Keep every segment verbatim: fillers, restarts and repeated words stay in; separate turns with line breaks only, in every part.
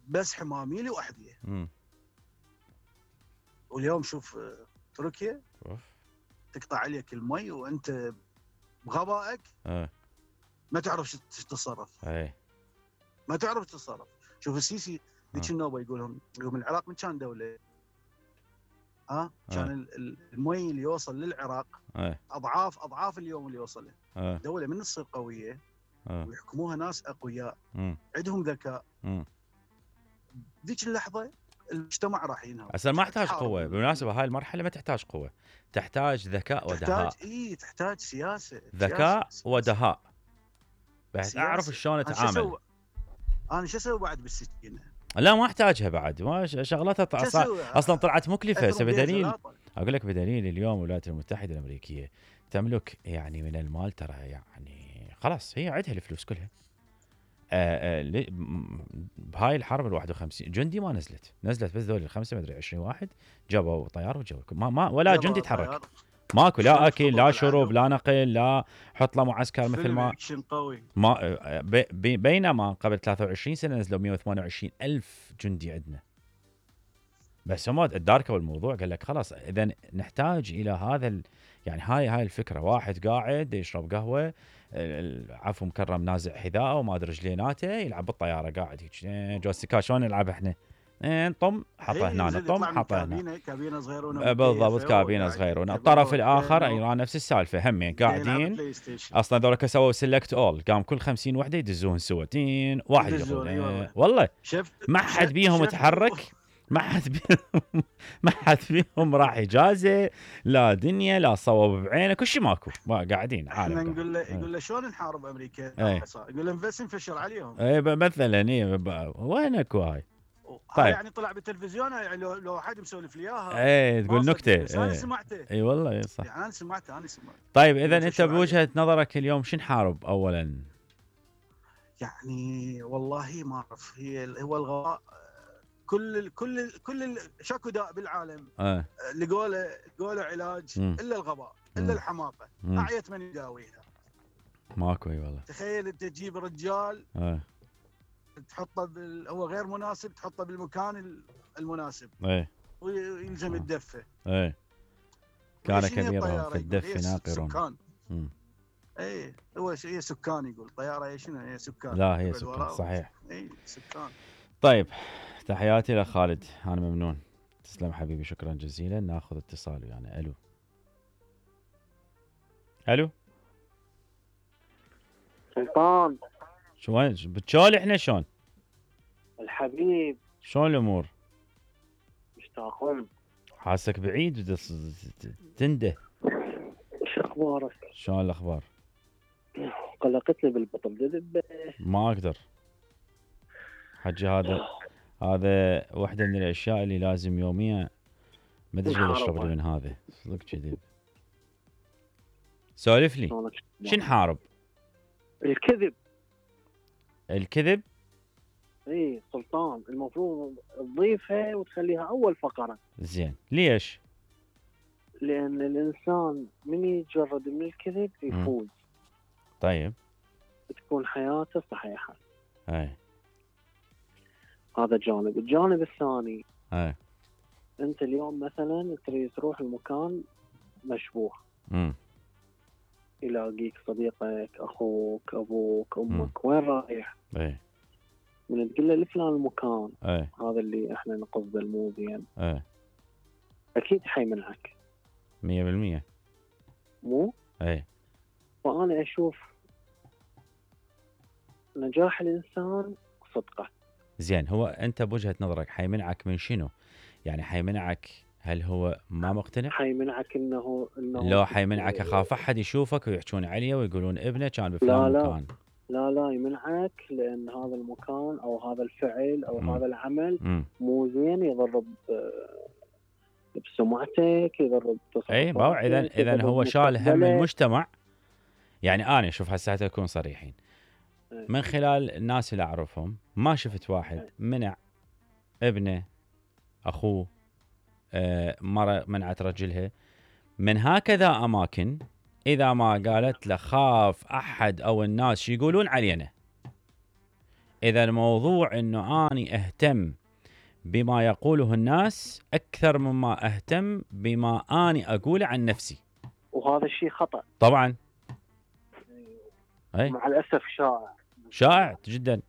بس حمامي لي وحدي.
امم
واليوم شوف تركيا
اوف
تقطع عليك المي وانت بغبائك
اه
ما تعرف شو تتصرف،
اي
ما تعرف تتصرف. شوف السيسي ذيك
آه.
النوبه يقولهم يقول العراق من كان دوله، ها
آه.
كان ال- ال- المي اللي يوصل للعراق
اي
اضعاف اضعاف اليوم اللي يوصل له.
اه
دوله من تصير قويه
اه
ويحكموها ناس اقوياء
امم
عندهم ذكاء،
امم
ذيك اللحظه المجتمع راح ينهض.
اصلا ما تحتاج
تحارب.
قوه بالمناسبه، هاي المرحله ما تحتاج قوه، تحتاج ذكاء ودهاء.
تحتاج اي تحتاج سياسه،
ذكاء
سياسة.
ودهاء بحيث
سياسة.
اعرف شلون
أنا شو
اتعامل.
أسوي؟ انا شو اسوي بعد بالسكينه؟
لا ما احتاجها بعد، ما ش- شغلتها طع-
شو
صار-
أسوي؟
اصلا طلعت مكلفه.
أضرب
هسه
بيها
بدليل
زلاطة.
اقول لك بدليل اليوم الولايات المتحده الامريكيه تملك يعني من المال ترى يعني خلاص هي عندها الفلوس كلها. آه آه لي- م- بهاي الحرب ال واحد وخمسين جندي ما نزلت، نزلت بس ذول الخمسه مدري عشرين واحد جابوا طيار وجو ما, ما ولا
يلا
جندي
طيار.
تحرك. ماكو
شلون
لا اكل لا
خطط
شرب
العدو؟
لا نقل لا حط له معسكر مثل
فيلم
ما
اكشن قوي.
ما آه، بي- بي- بينما قبل ثلاثة وعشرين سنه نزلوا مئة وثمانية وعشرين الف جندي عندنا. بس هم اداركوا الموضوع قال لك خلاص اذا نحتاج الى هذا ال... يعني هاي هاي الفكره. واحد قاعد يشرب قهوه ال- عفو مكرم نازع حذاءه وما ادري رجليناته يلعب بالطياره قاعد هيك إيه، جوستيكا شلون نلعب احنا؟ إيه، طم حطه
إيه،
هنا
زين
طم
يطلع من
حطه هنا.
كابينه كابينه صغيرونه
آه، بالضبط
مكيفة
كابينه
وقاعد
صغيره.
يلعب
الطرف
بلاي
الاخر
ستيشن
ايران نفس السالفه همين
يلعب
قاعدين.
بلاي ستيشن.
اصلا ذولا سووا سيلكت اول قام كل خمسين وحده يدزون سوا تين واحد
يدزون،
يدخل
إي والله.
والله
شفت
ما حد
شفت-
بيهم
شفت-
تحرك، ما حد بيهم ما حد بيهم راح اجازه لا دنيا لا صوب بعينه كل شيء ماكو ما قاعدين
احنا
عالم
نقول له
قاعد.
يقول له شلون نحارب امريكا؟
إيه.
يقول له بس نفشر عليهم.
اي ب- مثلا اي ب- وينك هاي؟
طيب
طيب.
يعني طلع بالتلفزيون يعني لو لو حد مسولف لي اياها
اي
ما
تقول
صدق،
نكته.
بس انا
اي
سمعته.
اي والله إي صح.
يعني انا سمعته انا سمعته
طيب اذا انت
نفشر
بوجهه نظرك اليوم شو نحارب اولا؟
يعني والله ما اعرف. هي هو الغباء. كل ال كل ال كل ال شكو داء بالعالم
اه
لقوا له لقوا له علاج
مم.
الا الغباء
مم.
الا الحماقه.
مم.
اعيت من يداويها.
ماكو اي والله.
تخيل انت تجيب رجال
اه
تحطه بال... هو غير مناسب تحطه بالمكان ال- المناسب
اي
ويلزم
آه.
الدفه.
اي كان
ليش هي
كبيرا
الطيارة
في
يقول؟
الدف
هي
ناقر.
سكان.
مم.
اي هو ش- هي سكان يقول طياره هي شنو هي سكان.
لا هي
يقعد
سكان
وراه.
صحيح.
اي سكان.
طيب تحياتي لخالد انا ممنون. تسلم حبيبي شكرا جزيلا. ناخذ اتصال يعني. الو الو
سلطان
شلون بتشول احنا شلون
الحبيب
شلون الامور؟
مشتاقون.
حاسك بعيد بتص- تنده.
شو اخبارك؟
شلون الاخبار؟
قلقتني بالبطن دب.
ما اقدر حجي هذا هذا واحدة من الاشياء اللي لازم يوميا ما ادري شو اشرب لي من هذا صدق كذب. سولف لي شو نحارب؟
الكذب.
الكذب.
اي سلطان المفروض تضيفها وتخليها اول فقره.
زين ليش؟
لان الانسان من يتجرد من الكذب يفوز.
طيب
تكون حياته صحيحه.
اي
هذا جانب. الجانب الثاني
اي
انت اليوم مثلا تريد تروح المكان مشبوه.
امم
يلاقيك صديقك اخوك ابوك امك
مم.
وين رايح؟
اي
من تقول له لفلان المكان
اي
هذا اللي احنا نقصده المو زين
اي
اكيد حيمنعك
مية بالمية.
مو؟
اي
فانا اشوف نجاح الانسان صدقه.
زين هو انت بوجهة نظرك حيمنعك من شنو؟ يعني حيمنعك هل هو ما مقتنع؟
حيمنعك انه انه
لو حيمنعك اخاف احد يشوفك ويحجون عليه ويقولون ابنه كان بفلان
لا لا.
مكان.
لا لا يمنعك لان هذا المكان او هذا الفعل او
مم.
هذا العمل
امم
مو زين يضر ب- بسمعتك يضر بتصرفاتك.
اي ما هو اذا اذا
يضر
هو شال هم
بمستقبلك.
المجتمع. يعني انا شوف هسه نكون صريحين
إيه.
من خلال الناس اللي اعرفهم ما شفت واحد منع ابنه اخوه آه مره منعت رجلها من هكذا اماكن اذا ما قالت له خاف احد او الناس شو يقولون علينا. اذا الموضوع انه اني اهتم بما يقوله الناس اكثر مما اهتم بما اني اقوله عن نفسي.
وهذا الشيء خطأ
طبعا. اي
مع الاسف شائع
شائع جدا.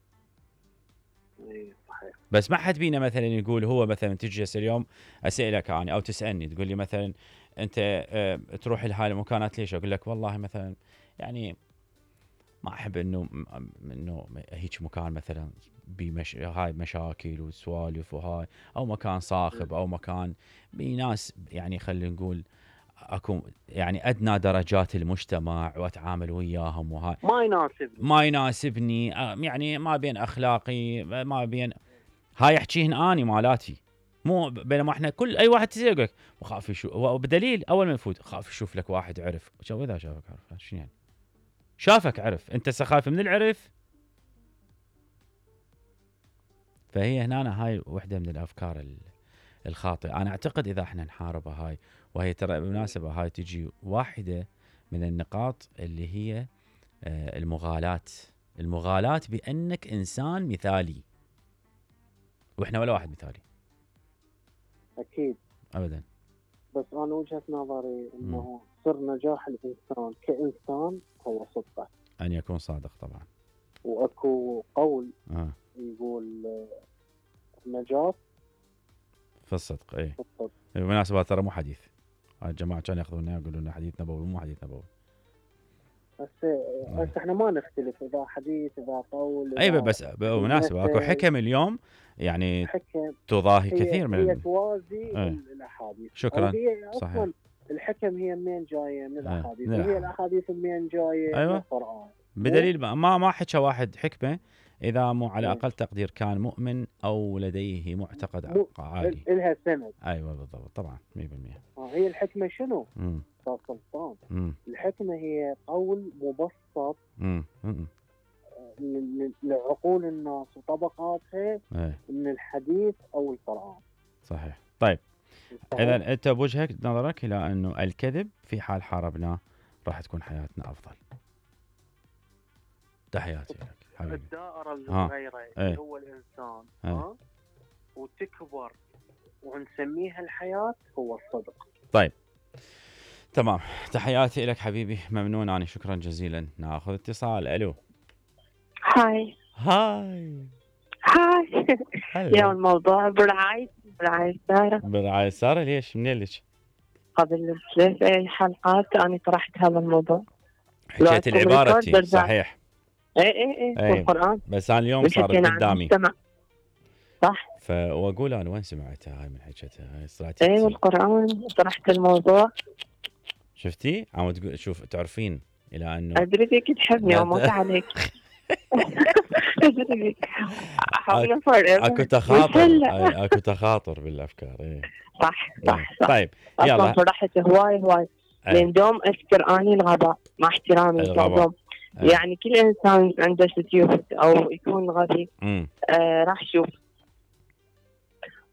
اي صحيح.
بس ما حد بينا مثلا يقول هو مثلا تجي اليوم اسالك انا او تسالني تقول لي مثلا انت اه تروح لهاي المكانات ليش؟ اقول لك والله مثلا يعني ما احب انه انه هيك مكان مثلا بمش... هاي مشاكل وسوالف وهاي، او مكان صاخب او مكان بناس يعني خلينا نقول اكو يعني ادنى درجات المجتمع واتعامل وياهم وهاي
ما يناسبني
ما يناسبني يعني ما بين اخلاقي ما بين هاي احكيهن اني مالاتي. مو بينما احنا كل اي واحد تسال يقول لك وخاف يشوف، وبدليل اول ما يفوت خاف يشوف لك واحد عرف. شو اذا شافك عرف شنو يعني؟ شافك عرف، انت سخاف من العرف. فهي هنا هاي وحده من الافكار الخاطئه. انا اعتقد اذا احنا نحاربها هاي، وهي ترى بالمناسبه هاي تجي واحده من النقاط اللي هي المغالاة. المغالاة بانك انسان مثالي، واحنا ولا واحد مثالي
اكيد
ابدا.
بس انا وجهة نظري انه سر نجاح الانسان كانسان هو صدقه،
ان يكون صادق طبعا.
واكو قول
آه.
يقول النجاة
في الصدق. اي
في الصدق.
بالمناسبة ترى مو حديث، هاي الجماعة كانوا ياخذونه يقولون لنا حديث نبوي، مو حديث نبوي.
بس بس احنا ما نختلف اذا حديث اذا قول.
اي بس بالمناسبة اكو حكم اليوم يعني
حكم
تضاهي
هي
كثير من
هي توازي
ايه.
الاحاديث.
شكرا.
هي اصلا
صحيح.
الحكم هي منين جايه؟ من الاحاديث.
ايه.
وهي الاحاديث منين جايه؟
أيوة.
من القران.
بدليل ما ما حكى واحد حكمه اذا مو على
ايه.
اقل تقدير كان مؤمن او لديه معتقد
مو
عالي.
الها سند.
ايوه بالضبط طبعا مية بالمية.
هي الحكمه شنو؟
امم
سلطان.
امم
الحكمه هي قول مبسط
امم
لعقول الناس وطبقاتها
ايه.
من الحديث او القران.
صحيح. طيب اذا انت بوجهة نظرك الى انه الكذب في حال حاربناه راح تكون حياتنا افضل. تحياتي لك حبيبي.
الدائره الصغيره اللي هو الانسان
ها
ها وتكبر ونسميها الحياه هو الصدق.
طيب تمام. تحياتي لك حبيبي، ممنون أنا، شكرا جزيلا. ناخذ اتصال. الو.
هاي
هاي
هاي
هلا.
يا الموضوع برعاية برعاية سارة.
برعاية سارة. ليش منين لك؟
قبل ثلاث اي حلقات انا طرحت هذا الموضوع،
حكيت العبارة تي صحيح.
اي اي اي والقرآن،
بس انا اليوم صارت قدامي
صح.
فاقول انا وين سمعتها هاي من حكيتها هاي صراحة.
اي والقرآن طرحت الموضوع.
شفتي؟ عم تقول شوف تعرفين الى انه
ادري فيك تحبني وموت عليك. ادري فيك حاول افرق.
اكو تخاطر. اكو تخاطر بالافكار. اي
صح صح صح.
طيب يلا
فرحت هواي هواي لان دوم اذكر اني الغباء مع احترامي دوم. يعني كل انسان عنده ستيوب او يكون غبي آه راح شوف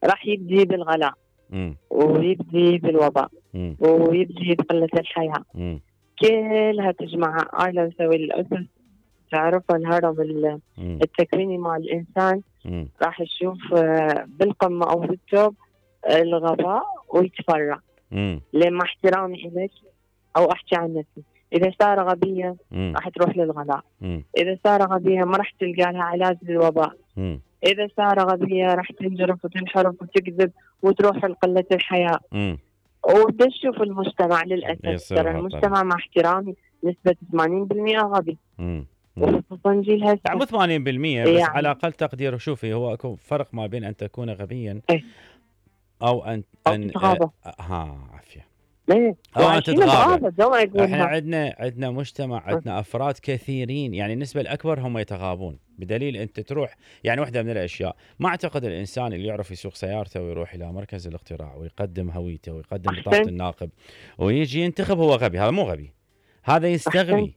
راح يبدي بالغلاء
مم.
ويبدي بالوباء
مم.
ويبدي بقلة الحياة.
مم.
كلها تجمع. أنا نسوي الأسس تعرف الهرم التكويني مع الإنسان.
مم.
راح تشوف بالقمة أو بالتوب الغباء ويتفرع. لما احترامي إليك أو أحكي عن نفسي إذا صار غبية راح تروح للغلاء.
مم.
إذا صار غبية ما راح تلقى لها علاج للوباء.
مم.
إذا صار غبية راح تنجرف وتنحرف وتكذب وتروح لقلة الحياة.
مم.
وبدأ تشوف المجتمع للأسف ترى المجتمع مع احترامي نسبة ثمانين بالمئة غبي. وخصوصا جيل هسه.
مو ثمانين بالمئة بس يعني. على أقل تقدير شوفي هو اكو فرق ما بين أن تكون غبيا
ايه؟
أو أن
أو
أن
تتغاضى.
آه ها عافية.
ايه
أو أن تتغاضى. احنا
احنا
عندنا عندنا مجتمع عندنا أفراد كثيرين يعني النسبة الأكبر هم يتغاضون بدليل أنت تروح يعني واحدة من الأشياء ما أعتقد الإنسان اللي يعرف يسوق سيارته ويروح إلى مركز الاقتراع ويقدم هويته ويقدم بطاقة الناقب ويجي ينتخب هو غبي. هذا مو غبي، هذا يستغبي.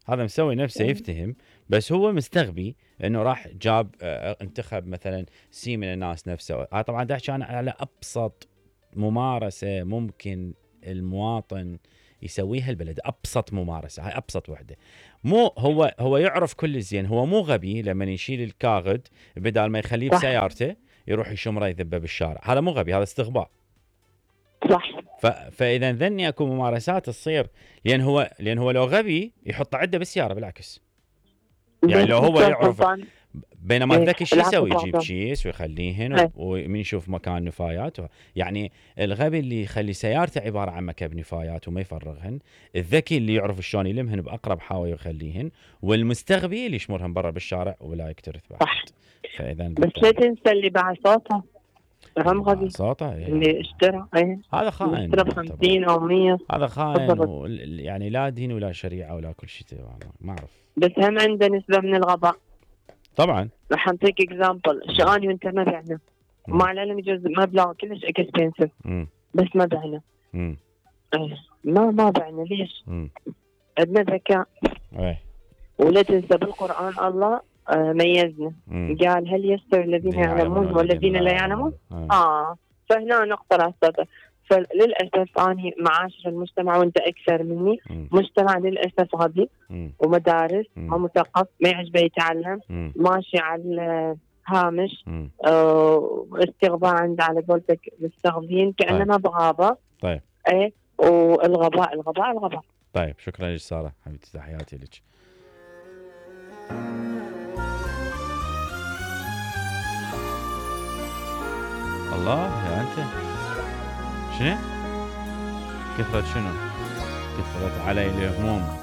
هذا مسوي نفسه يفتهم بس هو مستغبي انه راح جاب اه انتخب مثلا سي من الناس نفسه. هذا طبعا ده كان على ابسط ممارسه ممكن المواطن يسويها البلد. ابسط ممارسه هاي ابسط وحده. مو هو هو يعرف كل زين، هو مو غبي لما يشيل الكاغد بدال ما يخليه
صح.
بسيارته يروح يشمره يذبه بالشارع، هذا مو غبي، هذا استغباء.
صح.
ف... فاذا ذني اكو ممارسات تصير، لان هو لان هو لو غبي يحط عده بالسياره بالعكس. يعني لو هو يعرف، بينما الذكي شو يسوي؟ يجيب كيس ويخليهن ومن يشوف مكان نفايات و... يعني الغبي اللي يخلي سيارته عباره عن مكب نفايات وما يفرغهن، الذكي اللي يعرف شلون يلمهن باقرب حاوي ويخليهن، والمستغبي اللي يشمرهن برا بالشارع ولا يكترث بعد.
صح.
فاذا
بس لا تنسى اللي باع صوته هم غبي،
صوته
اللي اشترى ايه
هذا خائن،
اشترى ب خمسين او مية،
هذا خائن و... يعني لا دين ولا شريعه ولا كل شيء، ما اعرف.
بس هم عنده نسبه من الغباء
طبعا.
راح انطيك اكزامبل، شغاني وانت ما بعنا مع العلم يجوز مبلغ كلش اكسبنسيف بس ما بعنا.
امم
ما ما بعنا ليش؟
امم
عندنا ذكاء.
ايه.
ولا تنسى بالقران الله آه ميزنا. مم. قال هل يستوي الذين يعلمون والذين لا يعلمون؟ اه, آه. فهنا نقطه راسته. فللاسف اني معاشر المجتمع وانت اكثر مني، مم. مجتمع للاسف غبي ومدارس ومثقف ما يعجبه يتعلم، مم. ماشي على الهامش، آه استغباء عند على قولتك مستغبين كاننا بغابه.
طيب.
ايه والغباء الغباء الغباء.
طيب شكرا لك ساره حبيبتي، تحياتي لك. الله يا انت شنو؟ كثرت شنو؟ كثرت علي الهموم.